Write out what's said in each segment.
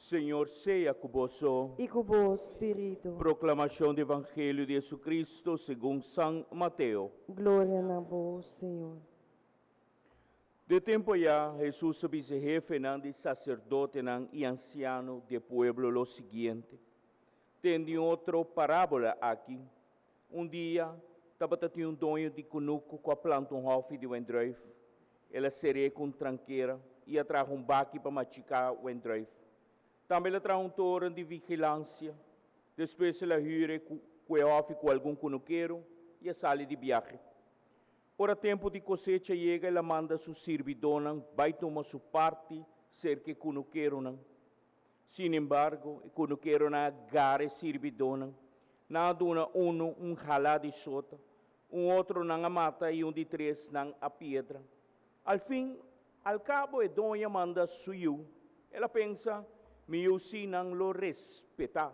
Señor sea ku boso. I ku bo spiritu. Proklamashon di Evangelio di Hesukristu segun San Mateo. Gloria na bo, Señor. De tempu ayá Hesus a bisa e hefenan di saserdotenan i ansiano di e pueblo lo siguiente, Tende un otro parábola aki, Un dia tabata tin un doño di kunuku ku a planta un hòfi di wendrùif. El a ser'é ku un trankera i a traha un baki pa machiká wendrùif. Tambe el a traha un toren di vigilansia. Despues el a hür e ku e hòfi ku algun kunukero i a sali di biahe. Ora tempu di kosecha yega el a manda su sirbidónan bai tuma su parti serka e kunukeronan. Sinembargo, e kunukeronan a gara e sirbidónan. Nan a duna unu un halá di sota, un otro nan a mata i un di tres nan a piedra. Al fin al kabo e doño a manda su yu. El a pensa, Mi yu sí nan lo respetá.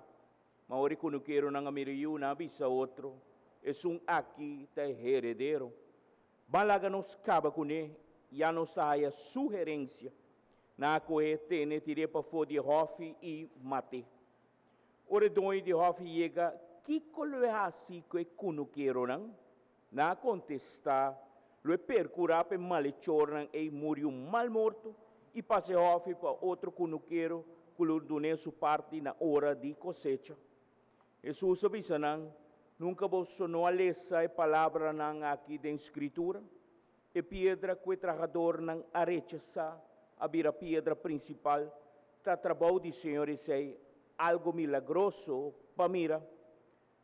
Ma ora e kunukeronan a mira e yu, nan a bisa otro, Esun aki ta e heredero. Ban laga nos kaba kuné, ya nos ta haya su herensia. Nan a kohe tene tir'é pafó di e hòfi i mat'é. Ora e doño di hòfi yega, kiko lo e hasi ku e kunukeronan? Nan a kontestá, Lo e perkurá pa e malechornan ei muri un mal morto i pasa e hòfi pa otro kunukero ku lo dun'é su parti na ora di kosecha. Hesus a bisa nan, Nunka boso no a lesa e palabranan aki den Skritura? E piedra ku e trahadornan a rechasá a bira piedra prinsipal. Ta trabou di Señor esei, algu milagroso pa mira.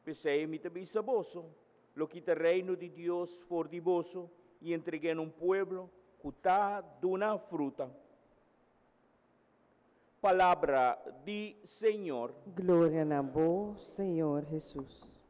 P'esei mi ta bisa boso, lo kita Reino di Dios for di boso i entreg'é na un pueblo ku ta duna fruta. Palabra di Señor. Gloria na bo, Señor Hesus.